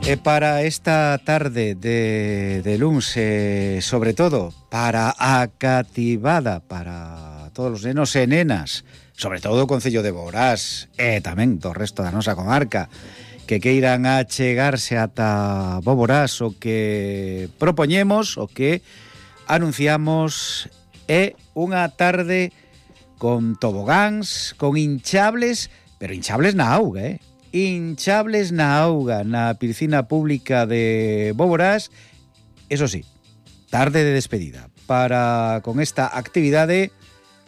E para esta tarde de luns, sobre todo para a cativada, para todos os nenos e nenas, sobre todo o Concello de Boborás e tamén do resto da nosa comarca, que queiran achegarse ata Boborás, o que propoñemos, o que anunciamos é unha tarde con tobogáns, con hinchables, pero hinchables na auga, hinchables na auga, na piscina pública de Boborás. Eso sí, tarde de despedida, para con esta actividade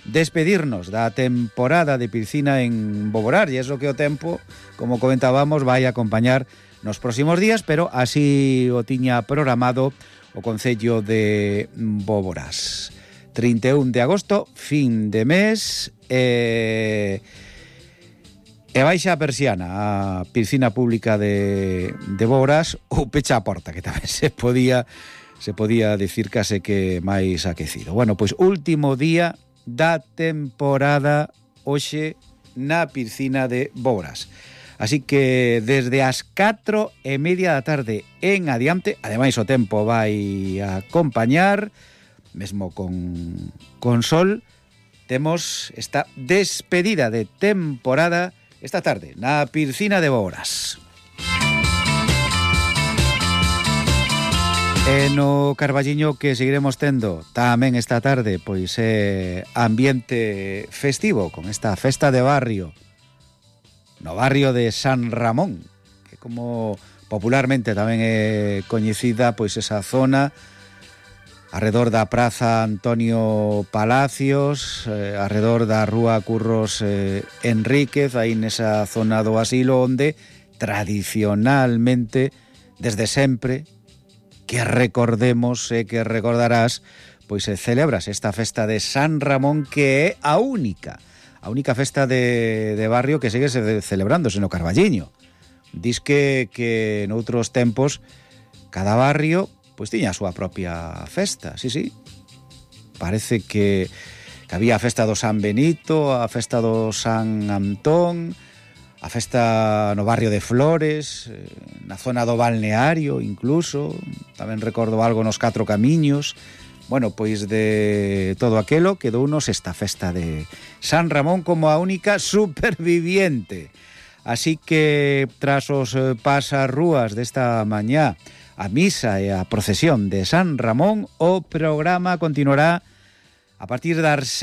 despedirnos da temporada de piscina en Boborás, e eso que o tempo, como comentábamos, vai a acompañar nos próximos días, pero así o tiña programado o Concello de Boborás. 31 de agosto, fin de mes, e baixa a persiana a piscina pública de Boborás, ou pecha a porta, que tamén se podía dicir case que máis aquecido. Bueno, pois último día da temporada hoxe na piscina de Boborás. Así que desde as 4:30 da tarde en adiante, ademais o tempo vai a acompañar, mesmo con sol, temos esta despedida de temporada esta tarde na piscina de Boborás. E no Carballiño que seguiremos tendo tamén esta tarde, pois ambiente festivo con esta festa de barrio no barrio de San Ramón, que como popularmente tamén é coñecida, pois esa zona arredor da Praza Antonio Palacios, arredor da Rúa Curros Enríquez, aí nesa zona do asilo onde tradicionalmente, desde sempre, que recordemos e que recordarás, pois se celebras esta festa de San Ramón, que é a única festa de barrio que segue celebrándose no Carballiño. Dis que noutros tempos cada barrio pois tiña a súa propia festa, sí. Parece que había a festa do San Benito, a festa do San Antón, a festa no barrio de Flores, na zona do balneario incluso, tamén recordo algo nos Catro Camiños. Bueno, pois de todo aquelo quedounos esta festa de San Ramón como a única superviviente. Así que tras os pasarrúas desta mañá, a misa e a procesión de San Ramón, o programa continuará a partir das 6